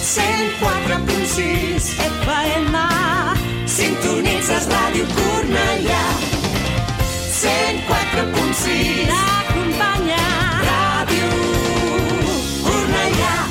104.6 FM. Sintonitzes Ràdio Cornellà. 104.6 t'acompanya. Ràdio Cornellà.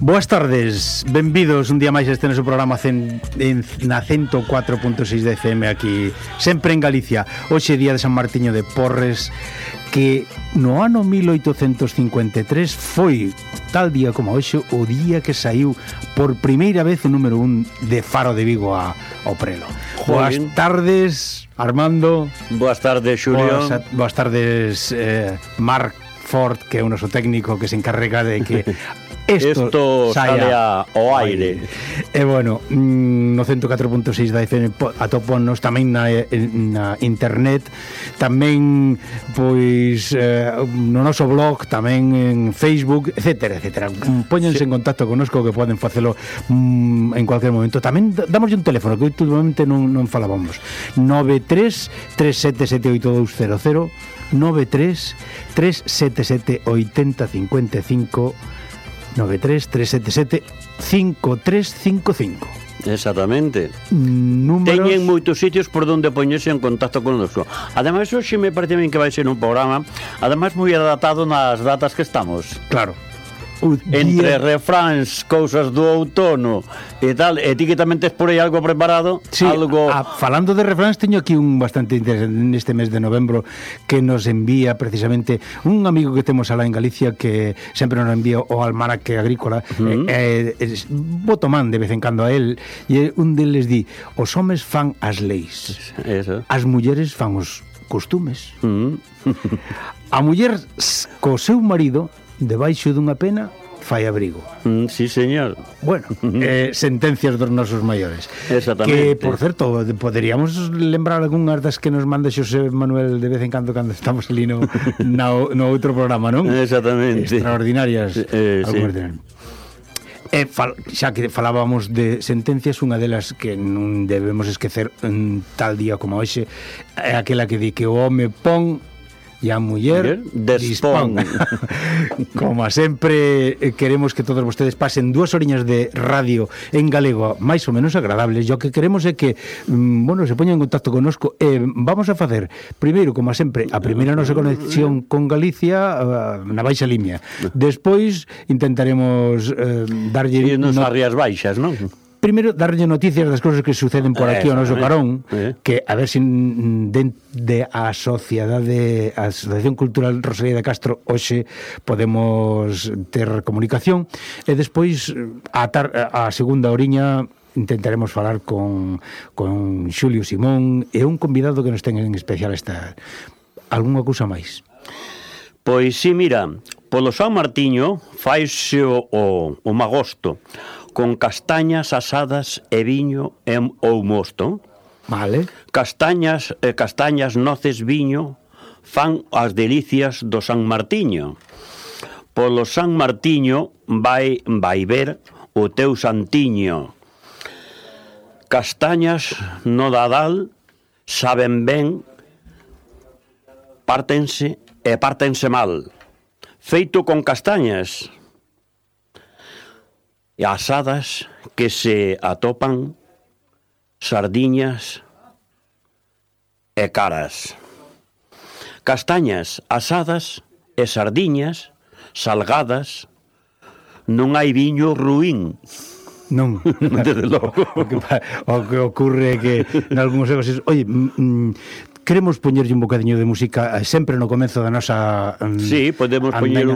Boas tardes, benvidos un día máis a este noso programa na 104.6 de FM aquí, sempre en Galicia. Hoxe día de San Martiño de Porres, que no ano 1853 foi tal día como hoxe o día que saiu por primeira vez o número 1 de Faro de Vigo ao prelo. Boas tardes, Armando. Boas tardes, Xulio. Boas tardes, Marc Ford, que é o noso técnico que se encarrega de que Esto sale ao aire. E bueno, no 104.6 da FM atóponos tamén na internet, tamén pois no noso blog, tamén en Facebook, etcétera, etcétera. Póñense en contacto connosco, que poden facelo en cualquier momento. Tamén damos un teléfono que últimamente non falábamos. 93 377 8200, 93 377 8055, 93-377-5355. Exactamente. Números... Teñen moitos sitios por donde poñerse en contacto con nosotros. Ademais, hoxe me parece ben que vai ser un programa ademais moi adaptado nas datas que estamos. Claro. Entre refráns, cousas do outono e tal, e ti que tamén tes por aí algo preparado. Sí, algo... falando de refráns, teño aquí un bastante interesante neste mes de novembro que nos envía precisamente un amigo que temos alá en Galicia, que sempre nos envía o almanaque agrícola. Vou tomando de vez en cando a él, e un deles di: os homes fan as leis, eso. As mulleres fan os costumes. A muller co seu marido debaixo dunha pena fai abrigo. Sí, señor. Bueno, sentencias dos nosos maiores. Exactamente. Que, por certo, poderíamos lembrar algunhas das que nos manda Xosé Manuel de vez en cando estamos ali no outro programa, non? Exactamente. Extraordinarias. Sí. Xa que falábamos de sentencias, unha delas que non debemos esquecer en tal día como hoxe é aquela que di que o home pon e a muller dispón. Como sempre, queremos que todos vostedes pasen 2 horiñas de radio en galego máis ou menos agradables. E o que queremos é que se poñan en contacto connosco, e vamos a facer primeiro, como sempre, a primeira nosa conexión con Galicia na Baixa Limia. Despois intentaremos darlle irnos a Rías Baixas, non? Primeiro, darlle noticias das cousas que suceden por aquí ao noso carón, que a ver se de a Asociación Cultural Rosalía de Castro hoxe podemos ter comunicación, e despois a segunda oriña intentaremos falar con Xulio Simón e un convidado que nos ten en especial esta. Algúnha cousa máis? Pois sí, mira, polo San Martiño faise o magosto, con castañas asadas e viño ou mosto. Vale. Castañas, noces, viño fan as delicias do San Martiño. Polo San Martiño vai ver o teu santiño. Castañas no dadal saben ben, pártense mal. Feito con castañas e asadas que se atopan sardiñas e caras. Castañas asadas e sardiñas salgadas, non hai viño ruín. Non, desde logo. O que ocurre é que en algúns casos, oye, queremos poñerlle un bocadiño de música sempre no comezo da nosa sí, podemos poñer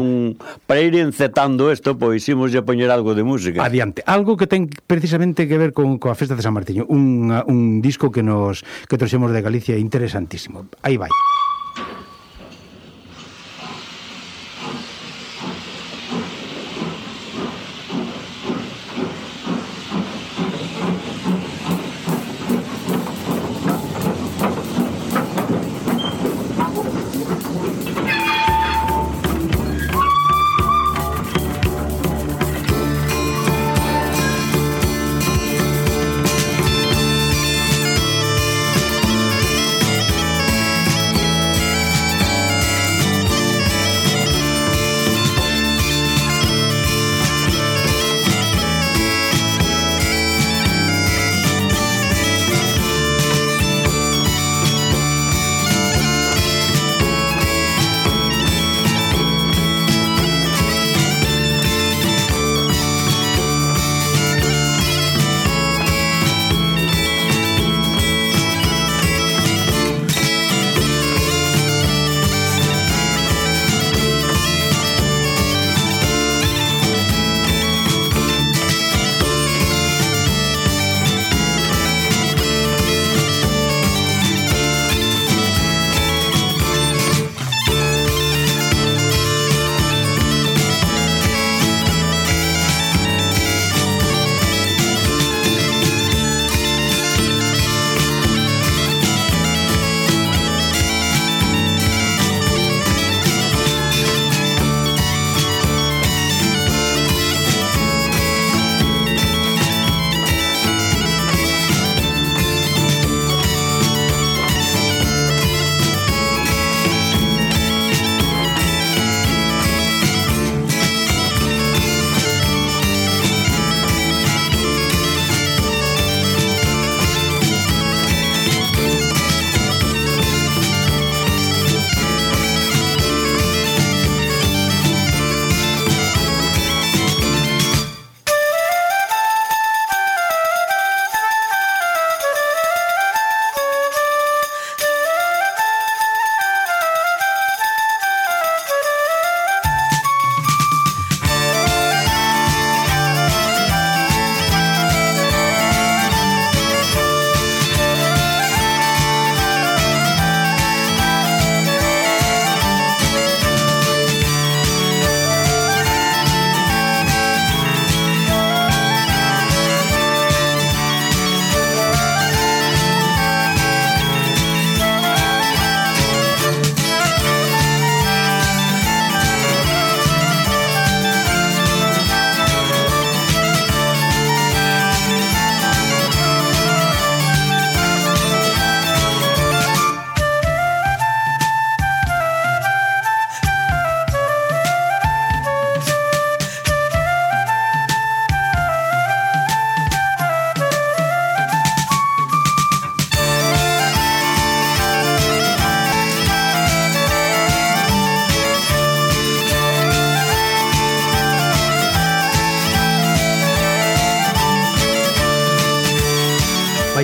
para ir encetando isto, pois imos a poñer algo de música. Adiante, algo que ten precisamente que ver coa festa de San Martiño, un disco que trouxemos de Galicia interesantísimo. Aí vai.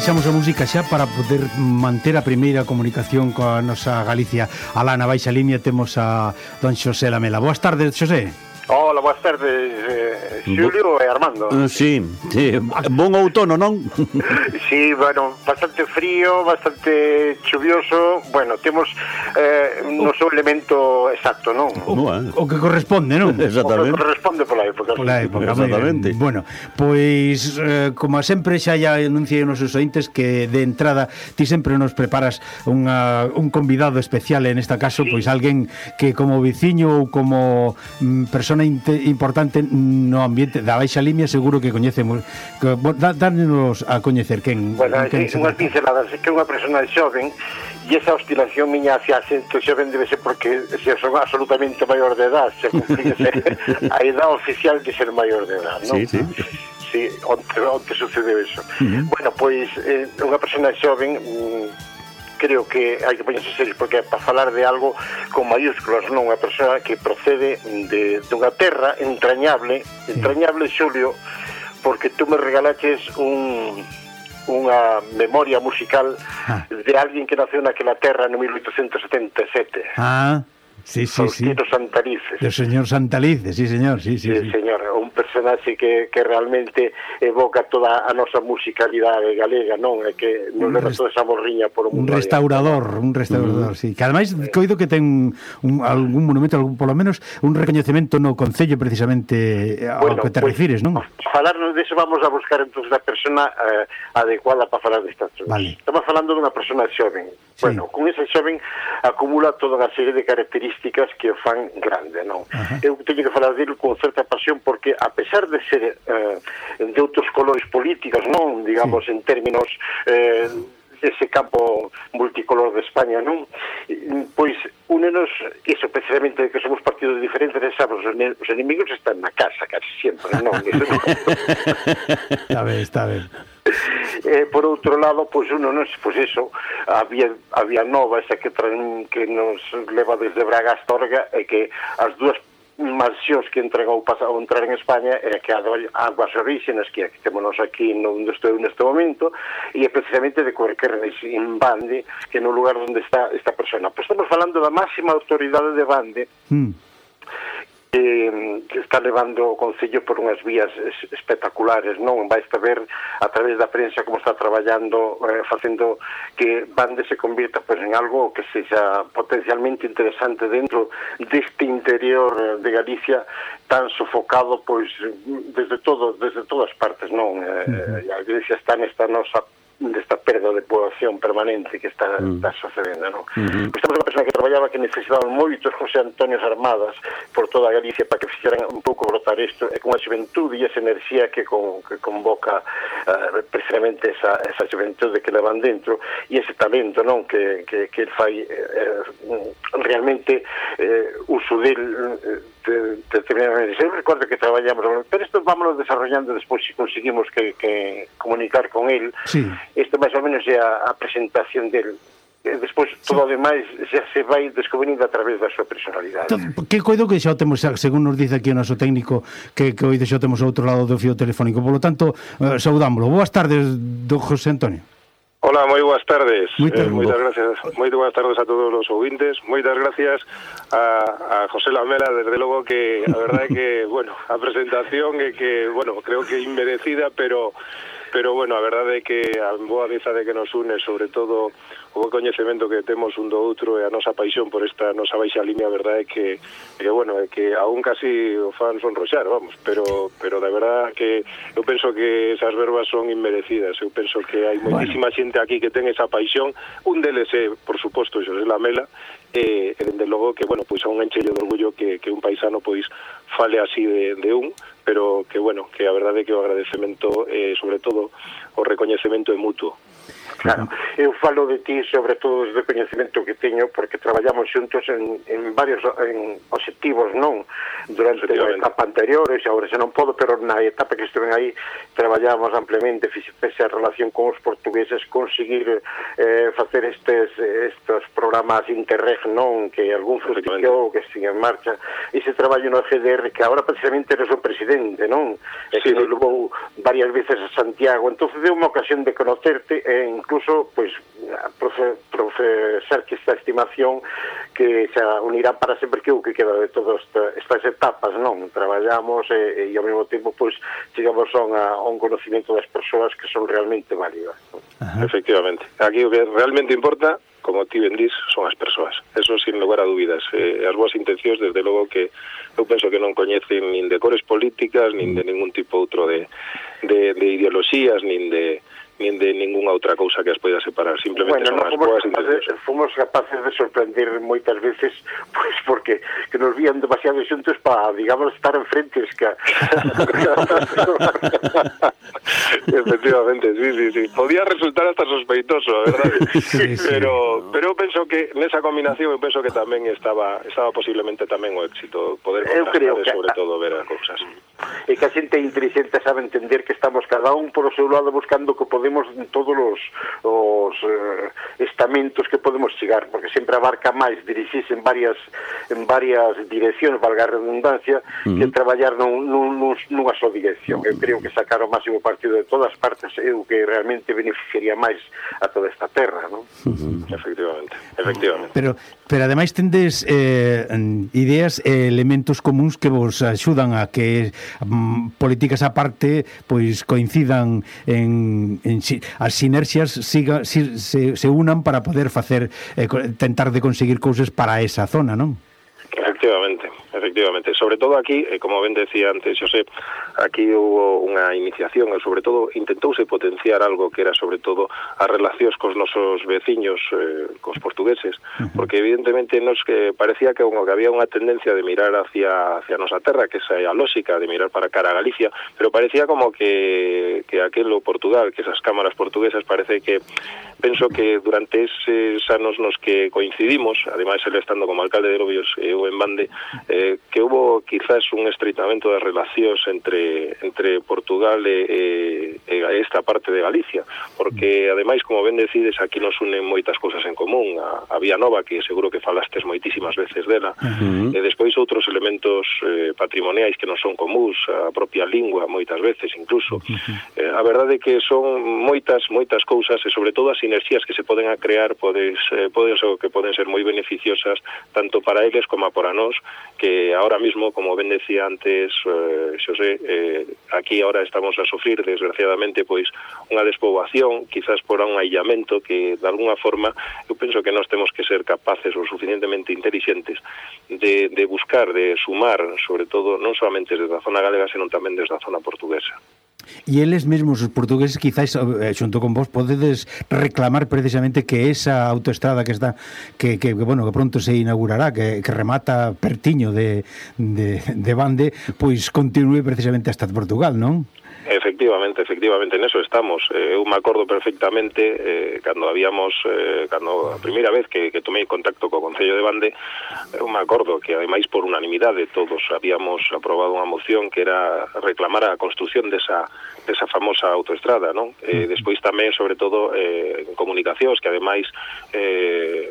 baixamos a música xa para poder manter a primeira comunicación coa nosa Galicia. Alá na baixa línea temos a don Xosé Lamela. Boas tardes, Xosé. Hola, boas tardes, Xulio e Armando. Sí, bon outono, non? Sí, bueno, bastante frío, bastante chuvioso. Bueno, temos no seu elemento exacto, non? O que corresponde, non? Exactamente. O que corresponde pola época. Pola época, exactamente. Bueno, pois, como sempre xa anunciei nos seus ointes que de entrada ti sempre nos preparas un convidado especial, en esta caso, pois alguén que como veciño ou como persona importante no ambiente da Baixa Limia seguro que coñecemos. Dános a coñecer quen. Bueno, unhas pinceladas, que é unha persona xoven e esa oscilación miña hacia xente xoven debe ser porque se son absolutamente maior de edad, se cumplíse a edad oficial de ser maior de edad, non? Sí. Sí, onde sucedeu eso. Bueno, pois unha persona xoven creo que hai que poñerse serios porque é para falar de algo con mayúsculas, non? Unha persoa que procede dunha terra entrañable, Xulio, porque tú me regalaches unha memoria musical de alguén que naceu naquela terra no 1877. Sí. Faustino Santalices. Do señor Santalices, sí, señor. Sí, señor, un personaxe que realmente evoca toda a nosa musicalidade galega, non? É que non leva toda esa morriña por o mundo. Un restaurador, sí. Que ademais coido que ten algún monumento, polo menos un recoñecemento no concello precisamente ao que te refires, non? Falarnos deso vamos a buscar entonces a persona adecuada para falar destas cousas. Vale. Estamos falando dunha persona xoven. Sí. Bueno, con esa xoven acumula toda unha serie de características que o fan grande, non? Eu teño que falar dele con certa pasión porque a pesar de ser de outros colores políticos, non? Digamos, en términos ese campo multicolor de España, non? Pois únenos iso precisamente de que somos partidos diferentes, sabes, os enemigos están na casa casi sempre, non? Está ben. Por outro lado, pois uno non se, pois eso, a vía nova esa que nos leva desde Braga a Astorga, e que as dúas mansións que entran ao entrar en España é que Aguas Orígenes, que temos aquí onde estou neste momento, e é precisamente de Correquernes en Bande, que no lugar onde está esta persona. Pois estamos falando da máxima autoridade de Bande, que está levando o Concello por unhas vías espectaculares, non? Vais a ver a través da prensa como está traballando, facendo que Bande se convirta pois en algo que sexa potencialmente interesante dentro deste interior de Galicia tan sofocado pois desde todas partes, non? A Galicia está nesta nosa desta perda de poboación permanente que está sucedendo, non? Estamos unha persona que traballaba que necesitaban moitos José Antonios Armadas por toda a Galicia para que fixeran un pouco brotar isto, e con a xuventude e esa enerxía que convoca precisamente esa xuventude que levan dentro e ese talento, non? Que el fai realmente uso del determinadamente. Eu recordo que traballamos, pero isto vámonos desarrollando despois se conseguimos que comunicar con el. Sí. Isto máis ou menos é a presentación del. Despois todo o demais xa se vai descubrindo a través da súa personalidade. Que coido que xa o temos, según nos dice aquí o noso técnico, que hoxe xa o temos ao outro lado do fío telefónico. Por lo tanto, saudámoslo. Boas tardes, don José Antonio. Hola, moi boas tardes. Moitas gracias. Moi boas tardes a todos os ouvintes. Moitas gracias a José Lamela, desde logo que a verdade é que, bueno, a presentación é que, bueno, creo que inmerecida, pero bueno, a verdade é que a boa amizade que nos une, sobre todo o coñecemento que temos un do outro e a nosa paixón por esta nosa Baixa Limia, a verdade é que bueno, é que aún casi o fan sonroxar, vamos, pero de verdade que eu penso que esas verbas son inmerecidas. Eu penso que hai moitísima xente aquí que ten esa paixón, un deles é, por suposto, Xosé Lamela, e dende logo que, bueno, pois a un enchelle de orgullo que un paisano pois fale así de un, pero que, bueno, que a verdade é que o agradecemento, sobre todo, o recoñecemento é mutuo. Claro, eu falo de ti sobre todo desde o coñecemento que teño porque traballamos xuntos en varios obxectivos, non? Durante a etapa anterior, e agora xa non podo, pero na etapa que estuve aí traballamos ampliamente, fixese a relación con os portugueses, conseguir facer estes programas Interreg, non? Que algún frustrou, que sigue en marcha, ese traballo no FDR que agora precisamente eres o presidente, non? E que nos levou varias veces a Santiago, entonces deu unha ocasión de conocerte e incluso, pois, profesar que esta estimación que xa unirán para sempre, que o que queda de todas estas etapas, non? Traballamos e ao mesmo tempo pois chegamos a un conocimiento das persoas que son realmente válidas, non? Efectivamente. Aquí o que realmente importa, como ti ben dís, son as persoas. Eso sin lugar a dúbidas. As boas intencións, desde logo que eu penso que non coñecen nin de cores políticas, nin de ningún tipo outro de ideoloxías, nin de ninguna outra cousa que as poida separar. Simplemente son as boas intencións. Fomos capaces de sorprender moitas veces, pois porque que nos vían demasiado xuntos para, digamos, estar enfrentes que Efectivamente, sí. Podía resultar hasta sospeitoso, a verdade. Sí. Pero eu penso que nesa combinación eu penso que tamén estaba posiblemente tamén o éxito, poder contrastar e sobre todo ver as cousas. E que a xente inteligente sabe entender que estamos cada un por o seu lado buscando que podemos en todos os estamentos que podemos chegar, porque sempre abarca máis dirixirse en varias direccións, valga a redundancia, que traballar nunha só dirección. Eu creo que sacar o máximo partido de todas partes é o que realmente beneficiaría máis a toda esta terra, non? Efectivamente. Pero ademais tendes ideas e elementos comuns que vos axudan a que políticas aparte pois coincidan en as sinerxias se unan para poder facer tentar de conseguir cousas para esa zona, non? Efectivamente. Sobre todo aquí, como ben decía antes Xosé, aquí hubo unha iniciación, e sobre todo intentouse potenciar algo que era sobre todo as relacións cos nosos veciños, cos portugueses, porque evidentemente nos que parecía que había unha tendencia de mirar hacia nosa terra, que esa é a lógica de mirar para cara a Galicia, pero parecía como que aquelo Portugal, que esas cámaras portuguesas, parece que penso que durante eses anos nos que coincidimos, ademais ele estando como alcalde de Lobios e eu en Bande, que hubo quizás un estreitamento das relacións entre Portugal e esta parte de Galicia, porque ademais, como ben decides, aquí nos unen moitas cousas en común, a Vía Nova, que seguro que falastes moitísimas veces dela, e despois outros elementos patrimoniais que non son comuns, a propia lingua moitas veces incluso. A verdade é que son moitas cousas, e sobre todo as sinerxias que se poden a crear poden ser moi beneficiosas tanto para eles como para nós, que ahora mismo, como ben decía antes Xosé, aquí ahora estamos a sufrir desgraciadamente pois unha despoboación, quizás por un aillamento que de alguna forma eu penso que nós temos que ser capaces o suficientemente inteligentes de buscar, de sumar, sobre todo non solamente desde a zona galega, senón tamén desde a zona portuguesa. E eles mesmos, os portugueses, quizás xunto con vos podedes reclamar precisamente que esa autoestrada que está que pronto se inaugurará, que remata pertiño de Bande, pois continúe precisamente hasta Portugal, non? Efectivamente, neso estamos. Eu me acordo perfectamente cando a primeira vez que tomei contacto co Concello de Bande, eu me acordo que ademais por unanimidade todos habíamos aprobado unha moción que era reclamar a construción desa famosa autoestrada, non? Despois tamén, sobre todo, en comunicacións, que ademais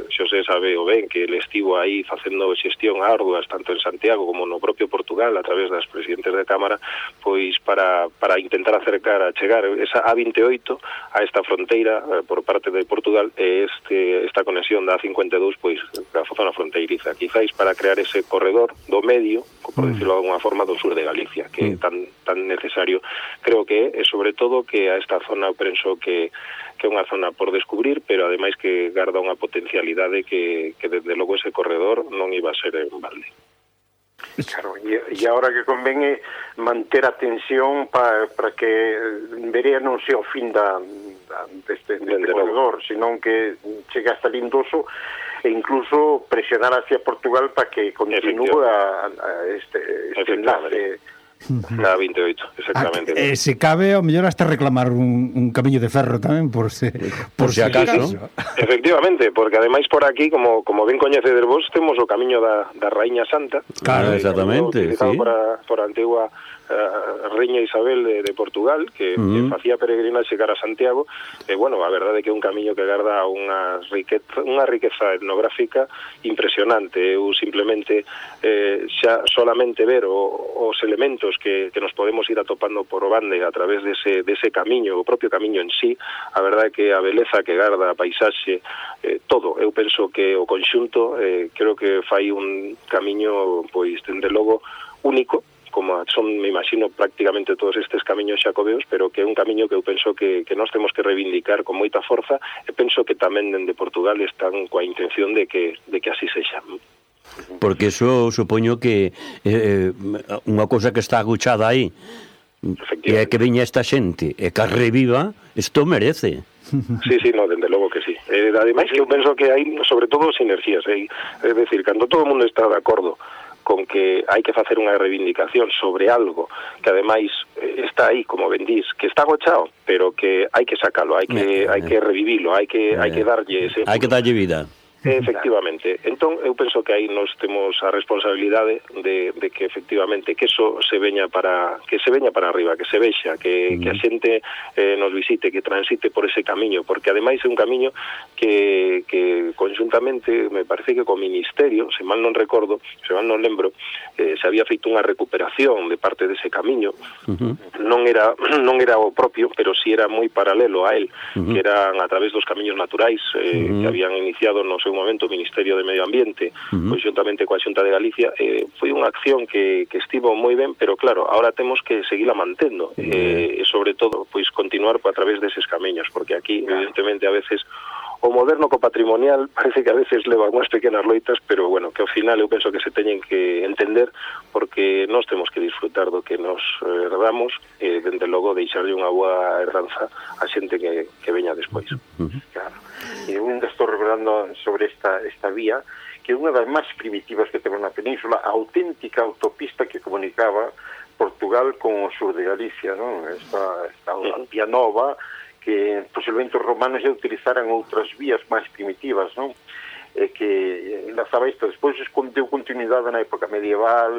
Xosé sabe o ben que ele estivo aí facendo xestión arduas tanto en Santiago como no propio Portugal a través das presidentes de Cámara, pois para intentar acercar a chegar esa A28 a esta fronteira por parte de Portugal e esta conexión da A52 pois da zona fronteiriza, quizáis para crear ese corredor do medio, por decirlo de alguna forma, do sur de Galicia, que é tan necesario. Creo que é sobre todo que a esta zona penso que é unha zona por descubrir, pero ademais que garda unha potencialidade que desde logo ese corredor non iba a ser en balde. Claro, e agora que convén é manter a tensión para que Verea non sea o fin deste corredor, senón que chegue hasta Lindoso e incluso presionar hacia Portugal para que continúe este enlace. Na 28, exactamente. Se cabe, ao mellor hasta reclamar un camiño de ferro tamén, por se acaso. Efectivamente, porque ademais por aquí, como ben coñecedes vos, temos o camiño da Raíña Santa. Claro, exactamente, utilizado por a antigua a Reina Isabel de Portugal, que facía peregrinaxe cara a Santiago, e, bueno, a verdade é que é un camiño que garda unha riqueza etnográfica impresionante. Eu simplemente xa solamente ver os elementos que nos podemos ir atopando por o bande a través dese camiño, o propio camiño en sí, a verdade é que a beleza que garda, a paisaxe, todo, eu penso que o conxunto creo que fai un camiño, pois, dende logo, único, como son, me imagino, prácticamente todos estes camiños xacobeos, pero que é un camiño que eu penso que nós temos que reivindicar con moita forza, e penso que tamén dende Portugal están coa intención de que así sexa. Porque eso supoño que unha cousa que está aguchada aí, e é que viña esta xente e que a reviva, isto merece. Sí, no, dende logo que sí. Ademais que eu penso que hai, sobre todo, sinerxías, é dicir, cando todo o mundo está de acordo con que hai que facer unha reivindicación sobre algo que ademais está aí, como ben dís, que está agochado, pero que hai que sacalo, hai que revivilo, hai que darlle ese... Hai que darlle vida. Efectivamente. Entón, eu penso que aí nos temos a responsabilidade de que efectivamente que eso se veña para arriba, que se vexa, que a xente nos visite, que transite por ese camiño, porque ademais é un camiño que conjuntamente, me parece que co Ministerio, se mal non recordo, se mal non lembro, se había feito unha recuperación de parte dese camiño. Non era o propio, pero si era moi paralelo a él, que eran a través dos camiños naturais que habían iniciado no seu momento o Ministerio de Medio Ambiente, conjuntamente coa Xunta de Galicia. Foi unha acción que estivo moi ben, pero claro, ahora temos que seguila mantendo, e sobre todo, pois continuar a través deses camiños, porque aquí, evidentemente, a veces o moderno co patrimonial parece que a veces leva unhas pequenas loitas, pero bueno, que ao final eu penso que se teñen que entender, porque nós temos que disfrutar do que nos herdamos e, dende logo, deixarlle unha boa herdanza a xente que veña despois. Claro. E eu ainda estou recordando sobre esta vía, que é unha das máis primitivas que temos na península, a auténtica autopista que comunicaba Portugal con o sur de Galicia, non? Esta vía nova, que posiblemente os romanos já utilizaran outras vías máis primitivas, non? Que enlazaba isto. Despois deu continuidade na época medieval,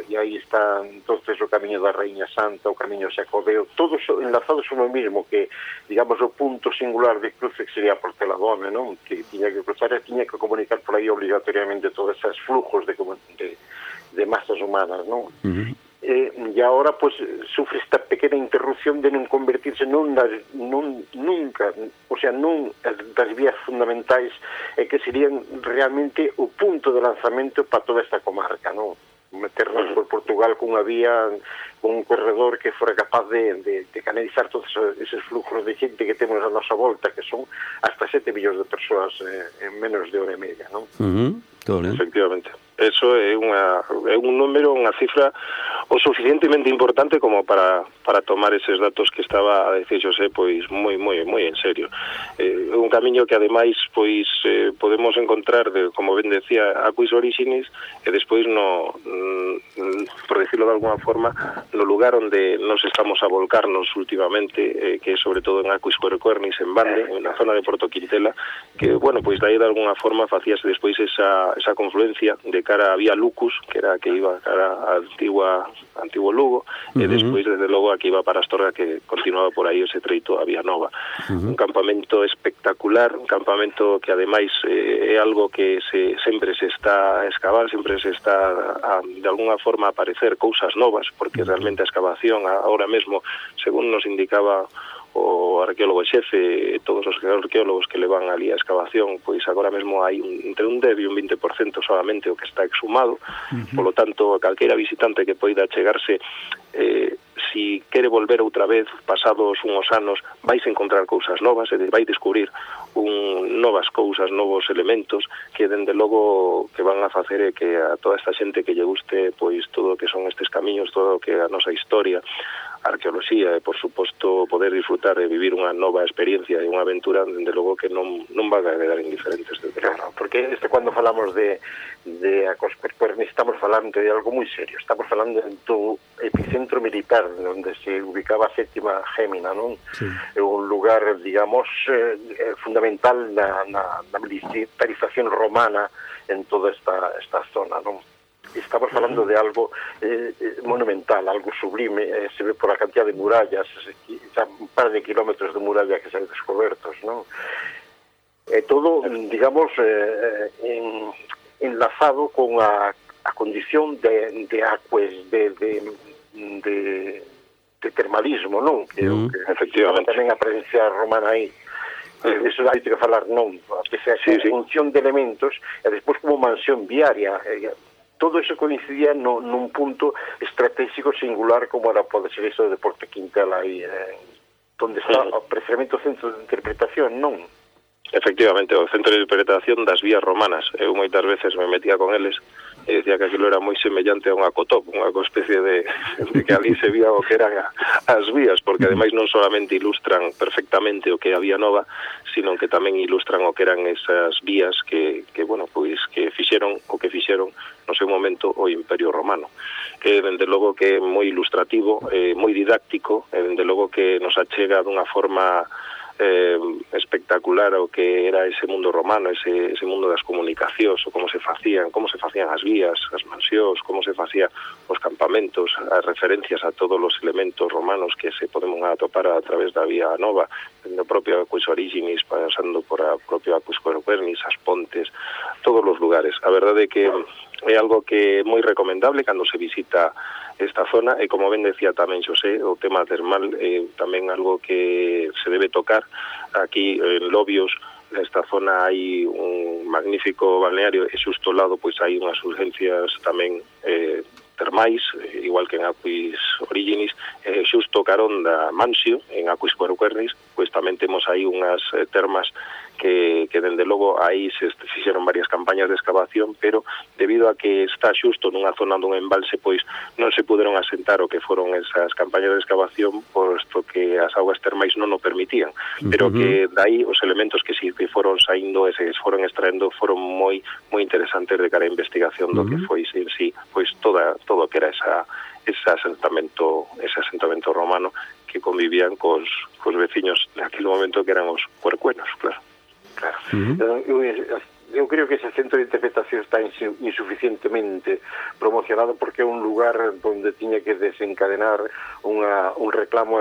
e aí está entonces o camiño da Rainha Santa, o camiño xacobeo, todos enlazados no mesmo, que, digamos, o punto singular de cruce que sería Porteladome, non? Que tiña que cruzar e tiña que comunicar por aí obligatoriamente todos esos flujos de masas humanas, non? E agora, pues, sufre esta pequena interrupción de non convertirse nun das vías fundamentais, e que serían realmente o punto de lanzamento para toda esta comarca, non? Meternos por Portugal cunha vía, un corredor que fora capaz de canalizar todos esos flujos de xente que temos a nosa volta, que son hasta 7 millóns de persoas en menos de hora e media, non? Efectivamente. Eso é un número, unha cifra o suficientemente importante como para tomar eses datos que estaba a decir Xosé, pois moi en serio. É un camiño que ademais pois podemos encontrar, como ben decía, Aquis Orixinis, e despois por decirlo de alguna forma, no lugar onde nos estamos a volcarnos últimamente, que é sobre todo en Aquis Corecuernis, en Bande, na zona de Porto Quintela, que, bueno, pois dai de alguna forma facíase despois esa confluencia de cara a Vía Lucus, que era a que iba cara a antigo Lugo, e despois, desde logo, a que iba para Astorga, que continuaba por aí ese treito a Vía Nova. Un campamento espectacular, un campamento que, ademais, é algo que sempre se está a excavar, sempre se está de alguna forma a aparecer cousas novas, porque realmente a excavación, ahora mesmo, según nos indicaba o arqueólogo xefe, todos os arqueólogos que levan ali a excavación, pois agora mesmo hai entre un 10 e un 20% solamente o que está exhumado. Polo tanto, calqueira visitante que poida chegarse, si quere volver outra vez pasados uns anos, vais encontrar cousas novas, e vai descubrir novas cousas, novos elementos que, dende logo, que van a facer que a toda esta xente que lle guste pois todo o que son estes camiños, todo o que a nosa historia, arqueoloxía, e, por suposto, poder disfrutar e vivir unha nova experiencia e unha aventura, dende logo que non van a quedar indiferentes. Claro, porque cando falamos de Aquis Corecuernis estamos falando de algo moi serio, estamos falando do epicentro militar, onde se ubicaba a sétima Gémina, non? Sí. É un lugar, digamos, fundamental na militarización romana en toda esta zona, non? estamos falando de algo monumental, algo sublime, se ve por a cantidad de murallas, xa un par de kilómetros de muralla que se han descobertos, non? Todo, digamos, enlazado con a condición de acues, de termalismo, non? Que efectivamente tamén a presencia romana aí. Eso hai que falar, non? Que sea función de elementos e despois como mansión viaria. Todo eso coincidía nun punto estratégico singular como era pode ser eso de Porta Quintela aí, onde está precisamente o centro de interpretación, non? Efectivamente, o centro de interpretación das vías romanas. Eu moitas veces me metía con eles e decía que aquilo era moi semellante a unha cotop, unha especie de que ali se vía o que eran as vías, porque ademais non solamente ilustran perfectamente o que a Vía Nova, sino que tamén ilustran o que eran esas vías que bueno, pois que fixeron o que fixeron no seu momento o Imperio Romano. Dende logo que é moi ilustrativo, moi didáctico, dende logo que nos achega dunha forma espectacular o que era ese mundo romano, ese mundo das comunicacións, o como se facían as vías, as mansións, como se facían os campamentos, as referencias a todos os elementos romanos que se podemos atopar a través da Vía Nova, dende o propio Aquis Originis, pasando por a propio Aquis Querquernis, as pontes, todos os lugares. A verdade é que é algo que é moi recomendable cando se visita esta zona, e como ben decía tamén Xosé, o tema termal é tamén algo que se debe tocar. Aquí en Lobios, nesta zona hai un magnífico balneario e xusto ao lado pois hai unhas urgencias tamén termais, igual que en Aquis Originis, xusto carón da Mansio, en Aquis Querquernis, pois tamén temos aí unhas termas que dende logo aí se fixeron varias campañas de excavación, pero debido a que está xusto nunha zona dun embalse, pois non se puderon asentar o que foron esas campañas de excavación, posto que as augas termais non o permitían, pero que dai os elementos que si que foron saindo e se foron extraendo foron moi interesantes de cara a investigación do que foi en sí, pois todo o que era ese asentamento romano que convivían cos veciños naquele momento que eran os cuercuenos, claro. Eu creo que ese centro de interpretación está insuficientemente promocionado, porque é un lugar onde tiña que desencadenar un reclamo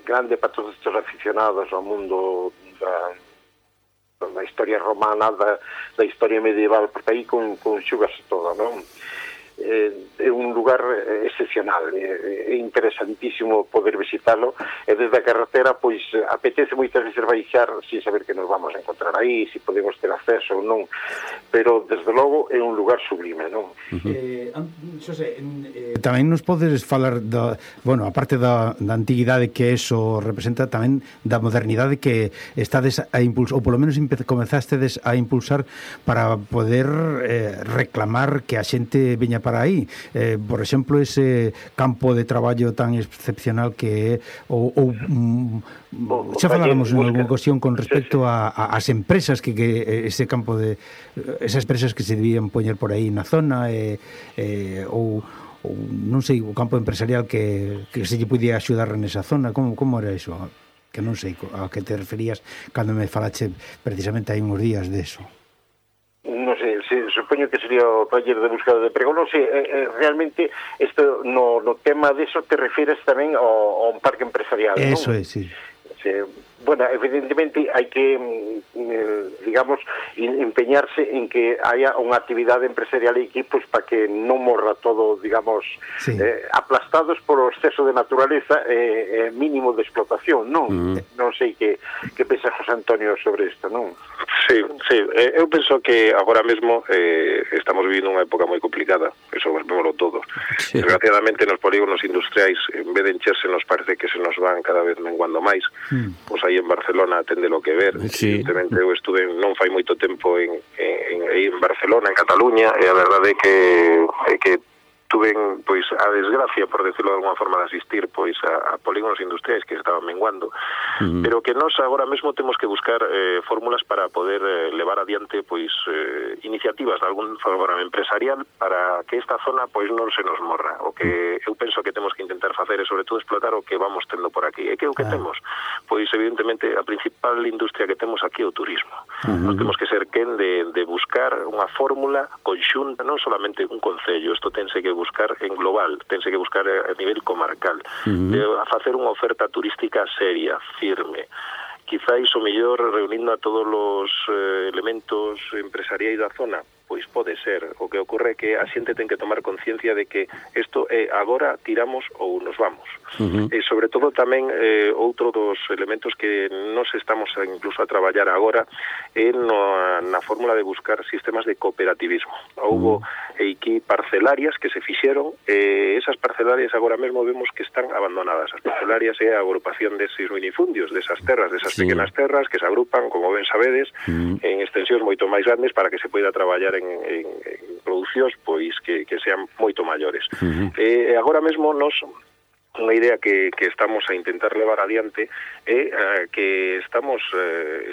grande para todos estes aficionados ao mundo da historia romana, da historia medieval, porque aí conxugase todo, non? É un lugar excepcional, é interesantísimo poder visitarlo, e desde a carretera pois apetece moitas veces baixar sin saber que nos vamos a encontrar aí, se podemos ter acceso ou non, pero desde logo é un lugar sublime, non? Xosé, tamén nos podes falar aparte da antiguidade que eso representa, tamén da modernidade que estades a impulsar, ou polo menos comezastes a impulsar para poder reclamar que a xente veña para aí, por exemplo, ese campo de traballo tan excepcional que é xa faláramos en alguna ocasión con respecto ás empresas que ese campo de esas empresas que se debían poñer por aí na zona, ou non sei, o campo empresarial que se lle podía axudar nesa zona. Como era iso? Que non sei a que te referías cando me falache precisamente hai uns días de eso. Non sei, supoño que sería o taller de búsqueda de emprego. Non sei, realmente isto no tema deso te refieres tamén ao parque empresarial, non? Eso é, sí. Bueno, evidentemente hai que, digamos, empeñarse en que haya unha actividade empresarial aquí, pois para que non morra todo, digamos, aplastados por o exceso de naturaleza e mínimo de explotación, non? Non sei que pensa José Antonio sobre isto, non? Sí, eu penso que agora mesmo estamos vivindo unha época moi complicada, eso vémoslo todos. Desgraciadamente nos polígonos industriais, en vez de encherse, nos parece que se nos van cada vez menguando máis. Pois aí en Barcelona tende lo que ver. Evidentemente eu estuve non fai moito tempo en Barcelona, en Cataluña, e a verdade é que tuven pois a desgracia, por decirlo de alguma forma, de asistir pois a polígonos industriais que estaban menguando, pero que nós agora mesmo temos que buscar fórmulas para poder levar adiante pois iniciativas de algún forma empresarial para que esta zona pois non se nos morra. O que eu penso que temos que intentar facer é sobre todo explotar o que vamos tendo por aquí. E que o que temos? Pois evidentemente a principal industria que temos aquí é o turismo. Nós temos que ser quen de buscar unha fórmula conxunta, non solamente un concello, isto tense que buscar en global, tense que buscar a nivel comarcal, a facer unha oferta turística seria, firme, quizáis o mellor reunindo a todos os elementos empresariais da zona, pois pode ser. O que ocorre é que a xente ten que tomar conciencia de que isto é agora tiramos ou nos vamos. E sobre todo tamén outro dos elementos que nos estamos incluso a traballar agora é na fórmula de buscar sistemas de cooperativismo. Houbo aquí parcelarias que se fixeron, esas parcelarias agora mesmo vemos que están abandonadas. As parcelarias é a agrupación deses minifundios, desas terras, desas pequenas terras que se agrupan, como ben sabedes, en extensións moito máis grandes para que se poida traballar en producións pois que sean moito maiores. Agora mesmo nos unha idea que estamos a intentar levar adiante é que estamos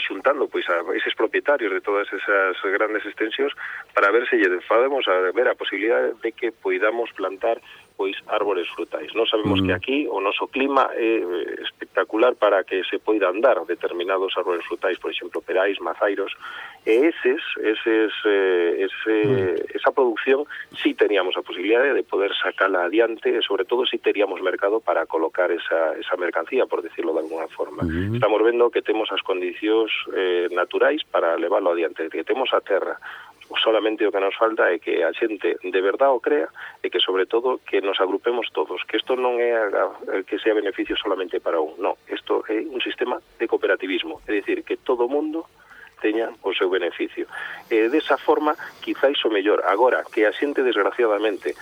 xuntando pois a eses propietarios de todas esas grandes extensións para ver se lle podemos ver a posibilidade de que poidamos plantar pois árbores frutais. Nós sabemos que aquí o noso clima é espectacular para que se poida andar determinados árbores frutais, por exemplo, perais, mazairos, e esa producción sí teníamos a posibilidade de poder sacala adiante e sobre todo sí teríamos mercado para colocar esa mercancía, por decirlo de alguna forma. Estamos vendo que temos as condicións naturais para levarlo adiante, que temos a terra. Solamente o que nos falta é que a xente de verdade o crea e que sobre todo que nos agrupemos todos, que isto non é que sea beneficio solamente para un, non, isto é un sistema de cooperativismo, é dicir, que todo mundo teña o seu beneficio. E desa forma, quizáis o mellor, agora que a xente desgraciadamente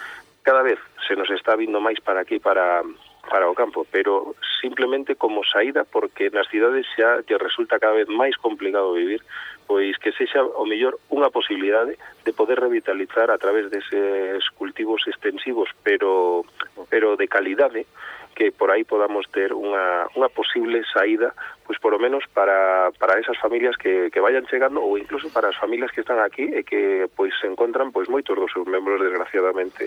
cada vez se nos está vindo máis para aquí, para o campo, pero simplemente como saída, porque nas cidades xa que resulta cada vez máis complicado vivir, pois que sexa o mellor unha posibilidade de poder revitalizar a través deses cultivos extensivos, pero de calidade, que por aí podamos ter unha posible saída, pois por lo menos para esas familias que vayan chegando, ou incluso para as familias que están aquí e que pois se encontran pois moitos dos seus membros desgraciadamente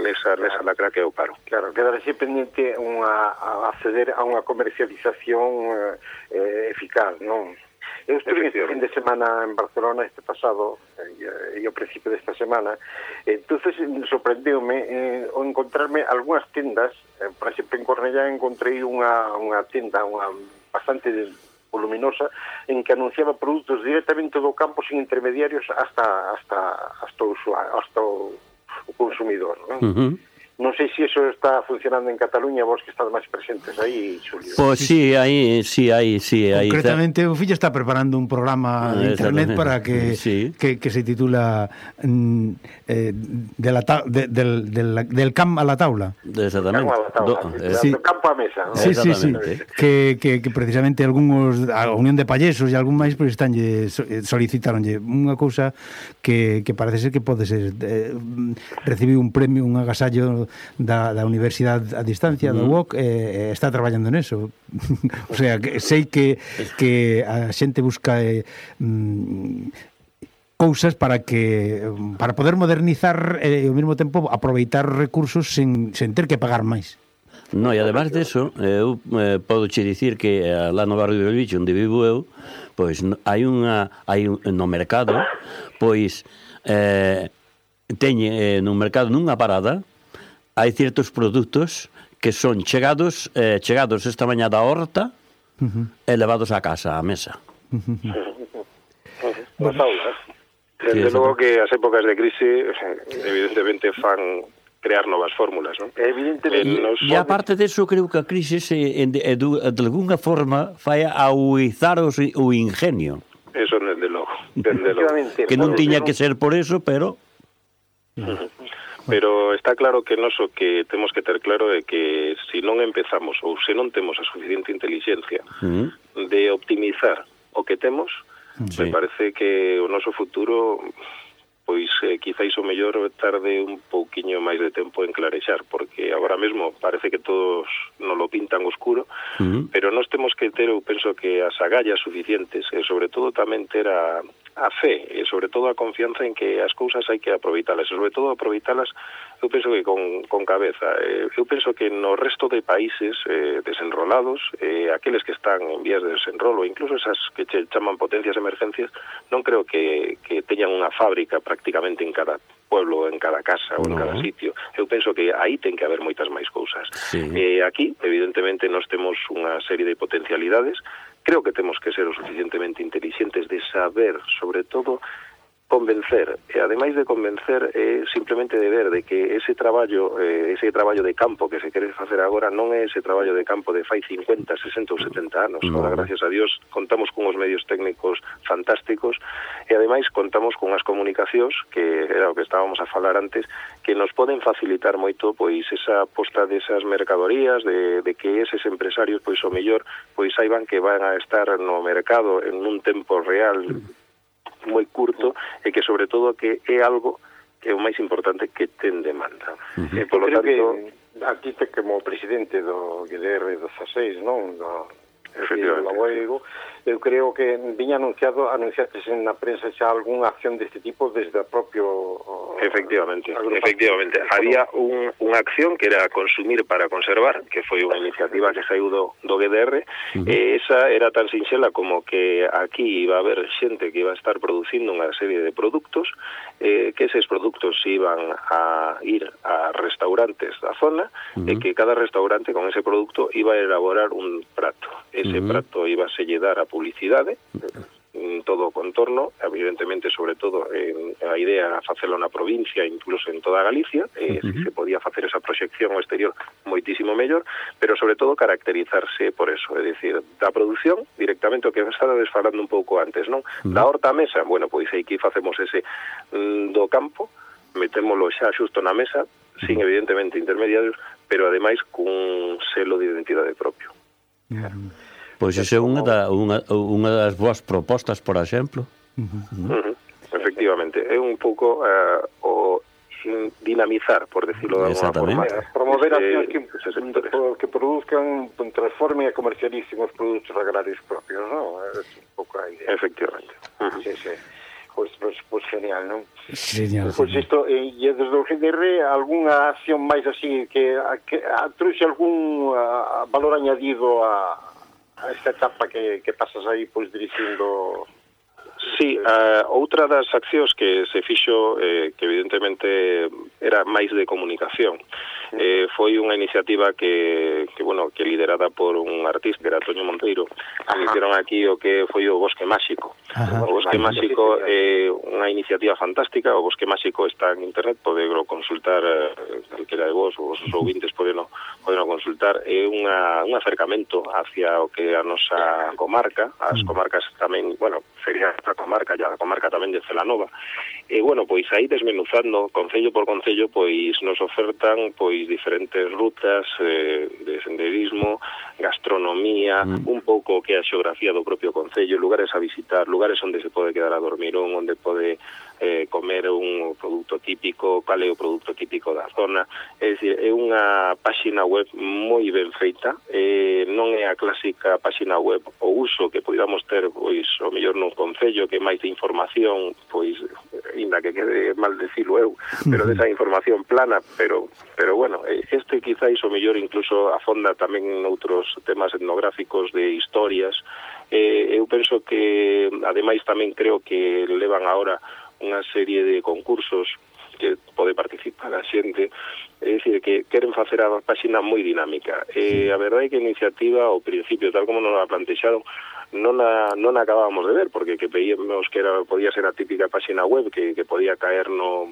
nesa lacra que é o paro. Claro, quedarse pendente a acceder a unha comercialización eficaz, non? Eu estuve este fin de semana en Barcelona este pasado e ao principio desta semana, entonces sorprendeume o encontrarme algunhas tendas, por exemplo en Cornellá encontrei unha tenda bastante voluminosa en que anunciaba produtos directamente do campo sin intermediarios hasta o consumidor, non? Non sei se iso está funcionando en Cataluña, vos que estades máis presentes aí, Xulio. Pois sí, aí. Concretamente, o fillo está preparando un programa de internet para que se titula del camp a la taula. Exactamente. Del campo a mesa, ¿no? Sí. Que precisamente algúns, a Unión de Pallesos e algún máis pois solicitaronlle unha cousa que parece ser que pode ser recibir un premio, un agasallo da Universidade a distancia da UOC, está traballando neso. O sea, que sei que a xente busca cousas para poder modernizar e ao mesmo tempo aproveitar recursos sen ter que pagar máis. No, e además deso, eu podo che dicir que lá no barrio de Belviche, onde vivo eu, pois hai no mercado, pois teñe no mercado nunha parada, hai certos produtos que son chegados esta mañá da horta e levados a casa, á mesa. Nas aulas. Desde logo que as épocas de crise evidentemente fan crear novas fórmulas, non? Evidentemente. E aparte deso, creo que a crise de alguna forma fai ahuizar o ingenio. Eso desde logo. Que non tiña que ser por eso, pero... Pero está claro que noso que temos que ter claro é que se non empezamos ou se non temos a suficiente inteligencia de optimizar o que temos, me parece que o noso futuro pois quizáis o mellor tarde un pouquiño máis de tempo en clarexar, porque agora mesmo parece que todos non lo pintan oscuro, pero nós temos que ter, eu penso que as agallas suficientes, e sobre todo tamén ter a fe, e sobre todo a confianza en que as cousas hai que aproveitalas, e sobre todo aproveitalas, eu penso que con cabeza. Eu penso que no resto de países desenrolados, aqueles que están en vías de desenrolo, incluso esas que che chaman potencias emergencias, non creo que teñan unha fábrica prácticamente en cada pueblo, en cada casa ou en cada sitio. Eu penso que aí ten que haber moitas máis cousas. Aquí, evidentemente, nós temos unha serie de potencialidades. Creo que temos que ser o suficientemente inteligentes de saber, sobre todo, convencer, e ademais de convencer simplemente de ver de que ese traballo de campo que se quere facer agora non é ese traballo de campo de fai 50, 60 ou 70 anos. Ahora, gracias a Dios, contamos con os medios técnicos fantásticos e ademais contamos con as comunicacións, que era o que estábamos a falar antes, que nos poden facilitar moito pois esa posta desas mercadorías, de que eses empresarios pois o mellor pois saiban que van a estar no mercado en un tempo real moi curto, e que sobre todo que é algo que é o máis importante, que ten demanda. Por lo tanto, que aquí te como presidente do GDR 16, non? Efectivamente. Eu creo que viña anunciaste na prensa xa algunha acción deste tipo desde o propio... Efectivamente. Había unha acción que era Consumir para Conservar, que foi unha iniciativa que saiu do GDR, e esa era tan sinxela como que aquí iba a haber xente que iba a estar producindo unha serie de produtos, que eses produtos iban a ir a restaurantes da zona, e que cada restaurante con ese producto iba a elaborar un prato. Ese prato iba a selle dar a publicidade, todo o contorno, evidentemente, sobre todo, a idea era facelo na provincia, incluso en toda Galicia, se podía facer esa proxección ao exterior moitísimo mellor, pero sobre todo caracterizarse por eso, é dicir, da produción directamente, o que estaba desfalando un pouco antes, non? Da horta á mesa, bueno, pois aquí facemos ese do campo, metémolo xa xusto na mesa, sin evidentemente intermediarios, pero ademais cun selo de identidade propio. Pois esa é unha das boas propostas, por exemplo. Efectivamente, é un pouco o dinamizar, por decirlo de alguna forma. Promover accións que produzcan, transformen e comercialicen os produtos agrarios propios, non? É un pouco a idea. Efectivamente. Sí. Pois genial, non? Genial. Pois isto, e desde o GDR, algunha acción máis así que trouxe algún valor añadido a esta etapa que pasas aí pois dirixindo? Sí, outra das accións que se fixo, que evidentemente era máis de comunicación, foi unha iniciativa que liderada por un artista, que era Toño Monteiro, que hicieron aquí o que foi o Bosque Máxico. O Bosque Máxico é unha iniciativa fantástica. O Bosque Máxico está en internet, podelo consultar, calquera de vos, os ouvintes podeno consultar. É un acercamento hacia o que a nosa comarca, as comarcas tamén, sería esta comarca, a comarca tamén de Celanova. E, pois aí desmenuzando, concello por concello, pois nos ofertan pois diferentes rutas de senderismo, gastronomía, un pouco que a xeografía do propio concello, lugares a visitar, lugares onde se pode quedar a dormir, onde pode comer un produto típico, cal é o produto típico da zona. É dicir, é unha páxina web moi ben feita, non é a clásica páxina web o uso que podíamos ter, pois, o mellor nun concello, que máis de información, pois, inda que quede mal decilo eu, pero desa información plana, pero este quizáis o mellor incluso afonda tamén noutros temas etnográficos de historias. Eu penso que, ademais, tamén creo que levan agora unha serie de concursos que pode participar a xente, é dicir, que queren facer a páxina moi dinámica. A verdade é que a iniciativa, ao principio, tal como nos a plantexaron, non a acabábamos de ver, porque que veíamos que podía ser a típica páxina web que podía caer no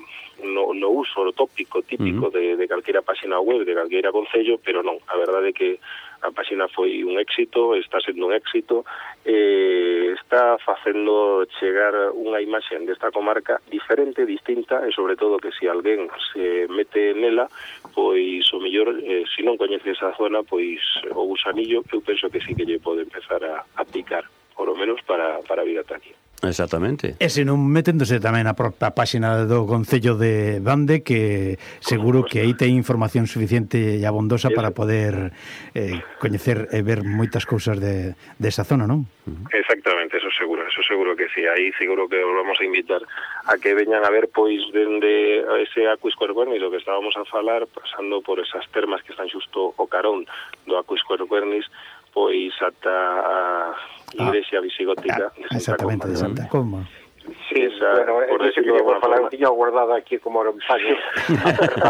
uso tópico típico de calquera páxina web, de calquera concello, pero non, a verdade é que a páxina foi un éxito, está sendo un éxito, está facendo chegar unha imaxe desta comarca diferente, distinta, e sobre todo que se alguén se mete nela, pois o mellor, se non coñece esa zona, pois o gusanillo, eu penso que sí que lle pode empezar a picar, por lo menos para vir ata aquí. Exactamente. E se non meténdose tamén na propia páxina do Concello de Bande, que seguro que aí ten información suficiente e abondosa para poder coñecer e ver moitas cousas desa zona, non? Exactamente, eso seguro que sí. Aí seguro que os vamos a invitar a que veñan a ver pois dende ese Aquiscuercuernis, o que estábamos a falar, pasando por esas termas que están xusto o carón do Aquiscuercuernis, pois ata a igrexa visigótica de Santa Comba. Exactamente, de Santa Comba. Sí, bueno, por eso que por falar, tiña guardado aquí como era un paño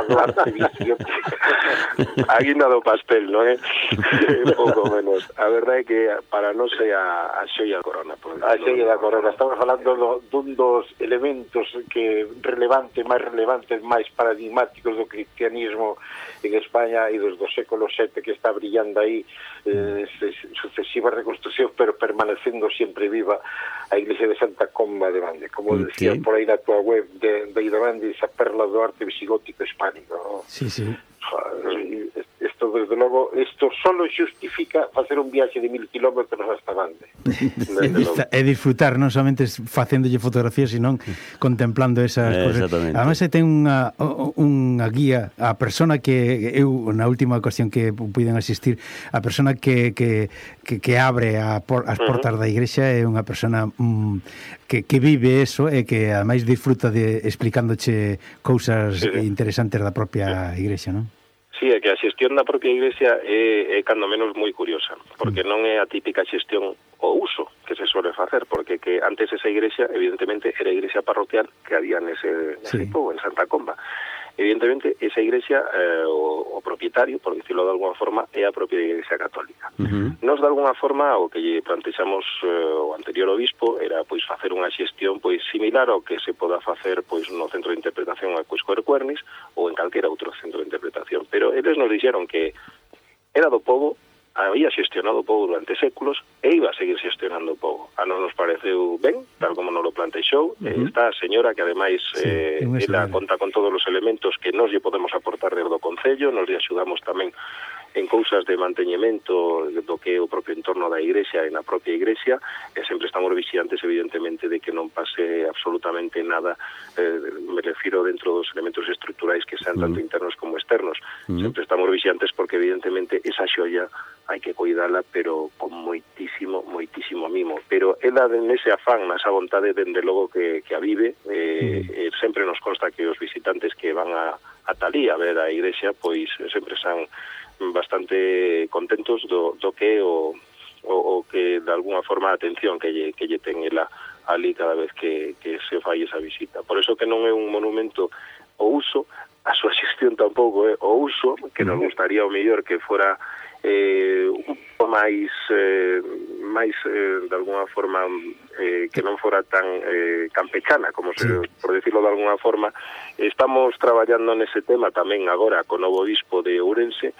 do arcebicio. A guinda do pastel, non é? Pouco menos. A verdade é que para nós é a xoia da corona. A xoia da corona. Estamos falando dun dos elementos que máis relevantes, máis paradigmáticos do cristianismo en España e dos do século VII, que está brillando aí sucesivas reconstruccións, pero permanecendo sempre viva a iglesia de Santa Comba de Bande, como decías por aí na tua web de Bande, esa perla do arte visigótico hispánico, ¿no? Sí. Isto, desde logo, isto solo xustifica facer un viaxe de 1000 kilómetros hasta Bande. E disfrutar, non somente facéndolle fotografías, sino contemplando esas cosas. Además, ten unha guía, a persona que eu, na última ocasión que puiden asistir, a persona que abre as portas da igrexa é unha persona que vive eso e que ademais disfruta de explicándoche cousas interesantes da propia igrexa, non? Sí, é que a xestión da propia iglesia é cando menos moi curiosa, porque non é a típica xestión o uso que se suele facer, porque que antes esa iglesia, evidentemente, era a iglesia parroquial que había nese pobo, en Santa Comba. Evidentemente, esa iglesia, o propietario, por dicirlo de alguna forma, é a propia iglesia católica. Nos, de alguna forma, o que lle plantexamos o anterior obispo era pois facer unha xestión pois similar ao que se poda facer pois no centro de interpretación Aquiscuercuernis ou en calquera outro centro de interpretación. Pero eles nos dixeron que era do pobo, había xestionado o pobo durante séculos e iba a seguir xestionando o pobo. A nos pareceu ben, tal como nos lo plantexou. Está a señora que ademais ela conta con todos os elementos que nos lle podemos aportar desde o Concello, nos lle axudamos tamén en cousas de manteñemento do que é o propio entorno da igrexa e na propia igrexa, e sempre estamos vixiantes, evidentemente, de que non pase absolutamente nada, me refiro dentro dos elementos estruturais que sean tanto internos como externos. Sempre estamos vixiantes porque, evidentemente, esa xoia hai que cuidala, pero con moitísimo mimo. Pero ela, nese afán, nesa vontade, dende logo que a vive, sempre nos consta que os visitantes que van a Talí a ver a igrexa, pois sempre son bastante contentos do que o que de alguna forma a atención que lle ten ela ali cada vez que se fai esa visita. Por eso que non é un monumento o uso, a súa xestión tampouco é o uso, que nos gustaría o mellor que fora un pouco máis de alguna forma que non fora tan campechana, como por decirlo de alguna forma. Estamos traballando nese tema tamén agora co novo obispo de Ourense.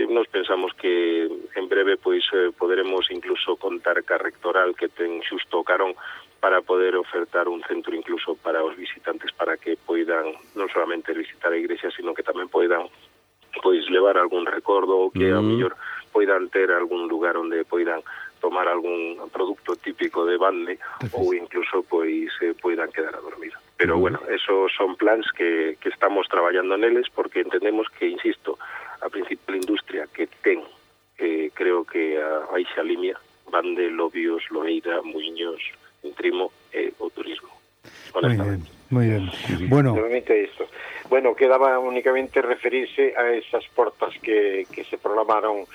Nos pensamos que en breve pois poderemos incluso contar ca rectoral que ten xusto o carón para poder ofertar un centro incluso para os visitantes, para que poidan non solamente visitar a igrexa, sino que tamén poidan pois levar algún recordo, que a mellor poidan ter algún lugar onde poidan tomar algún producto típico de Bande ou incluso pois poidan quedar a dormir. Pero bueno, esos son plans que estamos traballando neles, porque entendemos que, insisto, a principal industria que ten, creo que a Baixa Limia, Bande, Lobios, Loeira, Muiños, Entrimo e o turismo. Muy bien. Bueno, isto. Bueno, quedaba únicamente referirse a esas portas que se programaron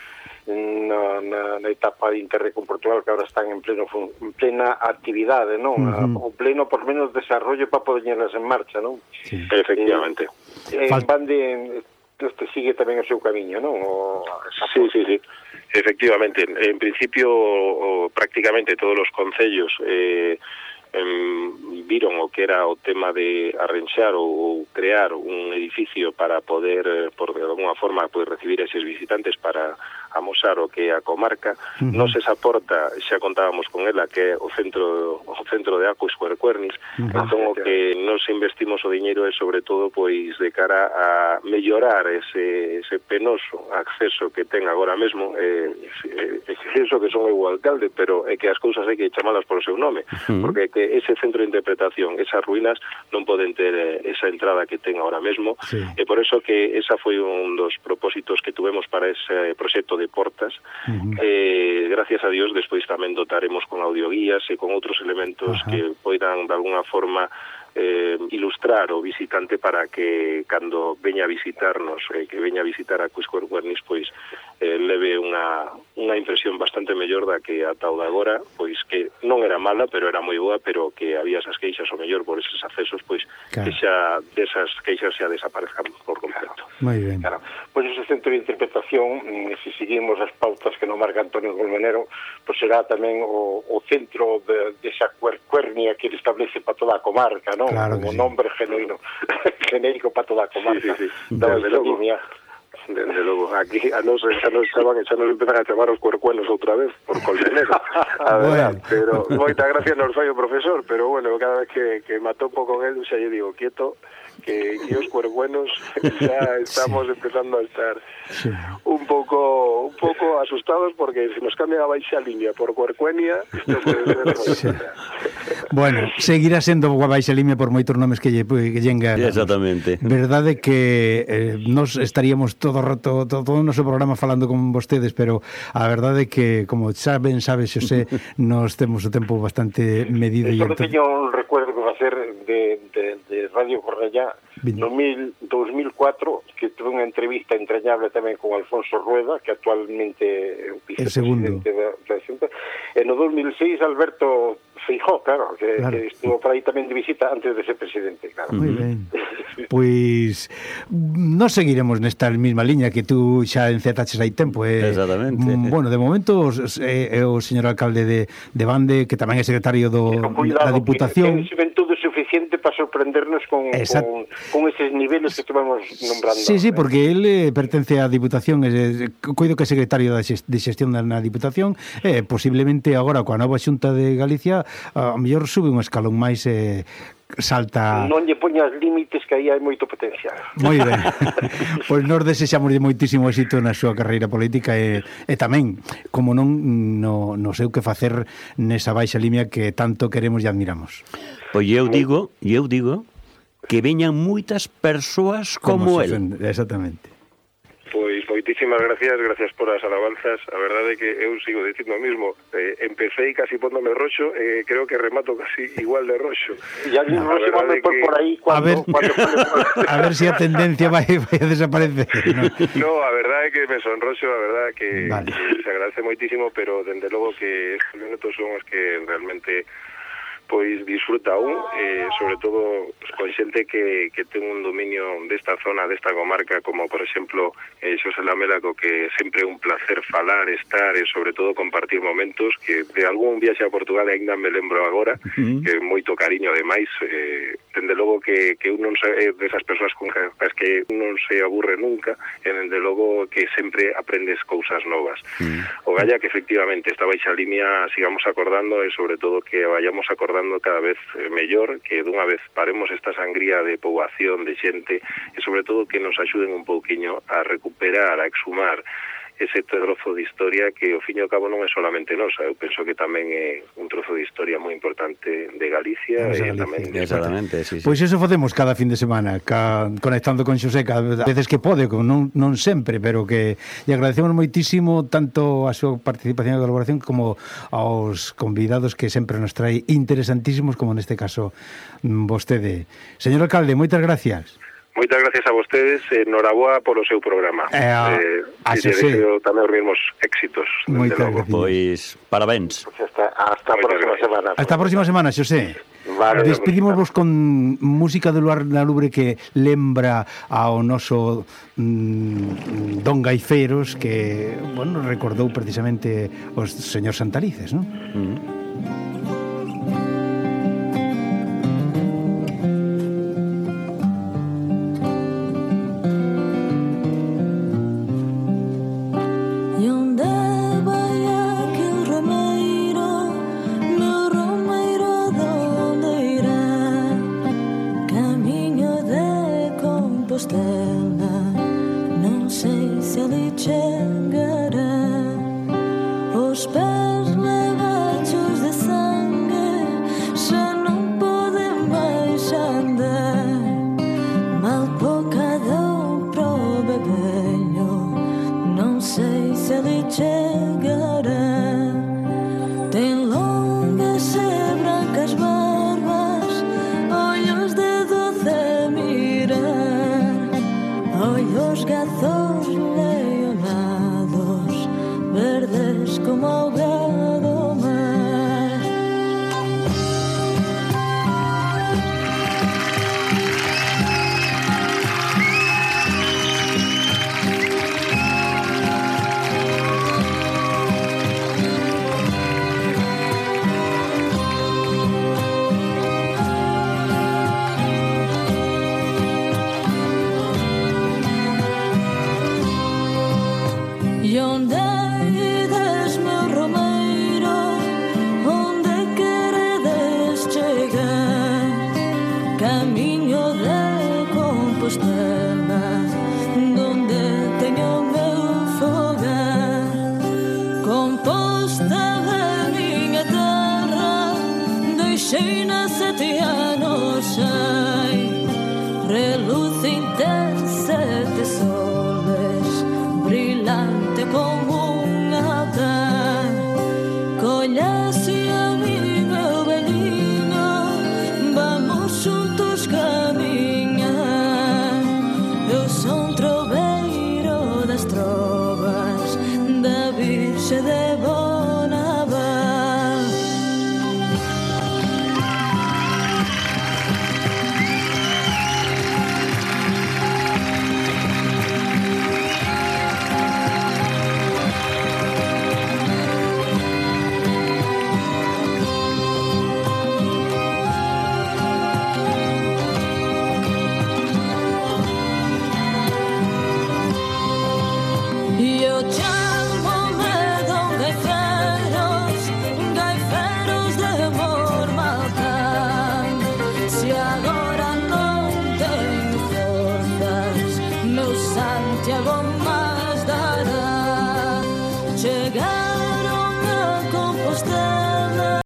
na etapa de Interreg con Portugal, que ahora están en plena actividade, non? O pleno, por menos, desarrollo para poderlas en marcha, non? Sí. Efectivamente. Bande sigue tamén o seu camiño, non? Sí. Efectivamente. En principio, prácticamente todos os concellos viron o que era o tema de arranxar ou crear un edificio para poder, por de alguna forma, poder recibir a eses visitantes para amosar o que é a comarca. Nos esa porta xa contábamos con ela, que é o centro de Aquis Cuercuernis. Entón o que nos investimos o diñeiro é sobre todo pois de cara a mellorar ese penoso acceso que ten agora mesmo, eso que son eu o alcalde, pero é que as cousas hai que chamalas por o seu nome, porque que ese centro de interpretación, esas ruínas non poden ter esa entrada que ten agora mesmo, e por eso que esa foi un dos propósitos que tuvemos para ese proxecto de portas. Gracias a Dios despois tamén dotaremos con audioguías e con outros elementos que poidan de alguna forma ilustrar o visitante para que cando veña a visitarnos, que veña a visitar a Aquis Cuercuernis, pois leve unha impresión bastante mellor da que ata o de agora, pois que non era mala, pero era moi boa, pero que había esas queixas o mellor por eses accesos, pois que xa desas queixas xa desaparezcan por completo. Moi ben. Claro. Pois ese centro de interpretación, se seguimos as pautas que nos marca Antonio Colmenero, pois será tamén o centro de esa cuercuernia que ele establece para toda a comarca, non? Claro, como nombre genuino, genérico para toda a comarca. Desde logo, aquí a nos estaban e xa nos empezan a chamar os cuercuenos outra vez por Colmenero. Bueno. Pero moita gracia nos fai o profesor, pero bueno, cada vez que me atopo con él xa lle digo, quieto, que os cuercuenos xa estamos empezando a estar un pouco asustados, porque se nos cambia a baixa línea por cuercuenia, isto puede ser Bueno, seguirá sendo a baixa línea por moitos nomes que llenga. Exactamente. Verdade que nos estaríamos todo o rato, todo o noso programa falando con vostedes, pero a verdade que, como sabe Xosé, nos temos o tempo bastante medido. Só teño un recuerdo que va a ser de Radio Cornellá no 2004, que tuve unha entrevista entrañable tamén con Alfonso Rueda, que actualmente é o vicepresidente da Xunta, e no 2006 Alberto Feijóo, claro, que estuvo por aí tamén de visita antes de ser presidente, claro. Moi ben. Pois nos seguiremos nesta mesma liña que tú xa encetaches hai tempo. Exactamente. Bueno, de momento é o señor alcalde de Bande, que tamén é secretario da Diputación. Ten xuventude suficiente para sorprendernos con eses niveles que estuvamos nombrando. Sí, porque ele pertence á Diputación, coido que é secretario de xestión na Diputación, e posiblemente agora coa nova Xunta de Galicia a mellor sube un escalón máis e salta... Non lle poñas límites, que aí hai moito potencial. Moi ben. Pois nos desexamos moitísimo éxito na súa carreira política e tamén, como non no sei que facer nesa baixa línea que tanto queremos e admiramos. Pois eu digo que veñan moitas persoas como el. Exactamente. Pois moitísimas gracias por as alabanzas. A verdade é que eu sigo dicindo o mismo. Empecé casi póndome roxo, creo que remato casi igual de roxo. Ya non se van por aí a ver se a tendencia vai a desaparecer. No, a verdade é que me sonroxo, a verdade que se agradece moitísimo, pero dende logo que estes minutos son os que realmente pois disfruta sobre todo con xente que ten un dominio desta zona, desta comarca, como por exemplo Xosé Lamela, co que sempre é un placer falar, estar e sobre todo compartir momentos, que de algún viaxe a Portugal ainda me lembro agora, que moito cariño ademais, dende logo que un non é desas persoas con as que non se aburre nunca, e dende logo que sempre aprendes cousas novas. O galla que efectivamente esta baixa línea sigamos acordando e sobre todo que vayamos acordando cada vez mellor, que dunha vez paremos esta sangría de poboación, de xente, e sobre todo que nos axuden un pouquiño a recuperar, a exhumar ese trozo de historia que ao fin e ao cabo non é solamente nosa. Eu penso que tamén é un trozo de historia moi importante de Galicia e tamén de Exactamente, sí. Pois iso facemos cada fin de semana, conectando con Xosé cada veces que pode, non sempre, pero que lle agradecemos moitísimo tanto a súa participación e colaboración como aos convidados que sempre nos trae interesantísimos, como neste caso vostede. Señor alcalde, moitas gracias. Moitas gracias a vostedes, noraboa polo seu programa. Deseo tamén os mesmos éxitos. Pois, parabéns. Hasta a próxima semana. Hasta a próxima semana, Xosé. Vale, despedimos con música de Luar na Lubre que lembra ao noso Don Gaifeiros, que, bueno, recordou precisamente os señor Santalices, non? You'll Xeina 7 anos hai.